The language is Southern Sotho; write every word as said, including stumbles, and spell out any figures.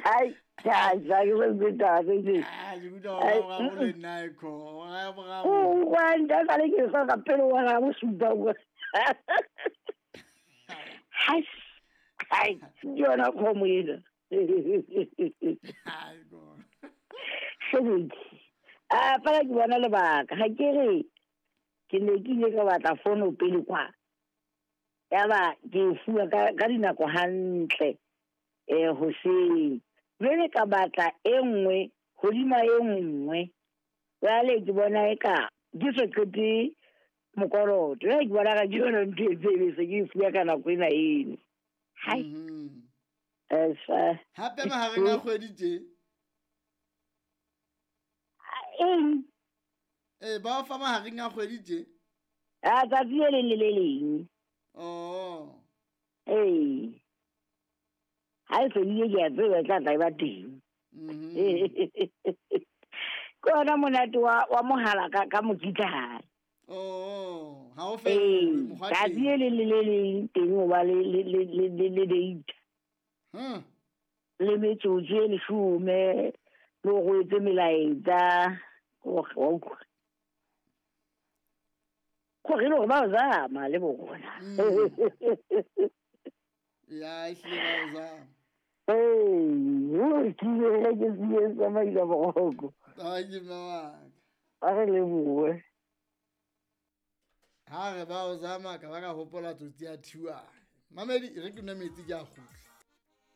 Ai, ja, ja, ke se taba tse. Ah, ke utlwa hore ga boraro le nna e kho. Hora ya boraro. O kwanta ka le ke sa ka pele wa ga bosupa kwa. Hai. Hai, ke yona kgomo ena. Ai, go. Sebedi. A fela ke bona lebaka, ga ke re ke ne ke ile ka batla fono pele kwa. Ya ba ke e fuwa ka ka dinako hantle eh hoseng. Jwale ka batla e nngwe hodima e nngwe. Jwale ke bona eka ke so qete mokoloto. Jwale ke bona ka ke yona ntho e tsebe se ke e fuwa ka nako ena eno. Hai. Mhm. Eh, sa- Hape mahareng a kgwedi tje. Eng? Eh, ba o fa mahareng a kgwedi tje. A tsatsi le leng le le leng. Oh. Ee. Ha e fedile ke a tseba e tla tla e ba teng. Mhm. Ke ona monate wa wa mohala ka ka mokitlane. Oh, ha o Ee, fellwe mokgwa tsatsi teng. le leng le le leng teng o ba le le le le le le data. Hmm. Le metsotso e leshome, le hore o etse melaetsa. O wa utlwa. Gore e le hore ba o zama le bona. Mm. Ya, ehlile ba o zama. Ee, o ke ile ke se tsamaisa boroko. Ai, mme wa ka. A re lebohe. Ha re ba o zama ka ba ka hopola tsotsi ya Thiwane. Mamedi, e re ke nwe metsi ke a kgutla.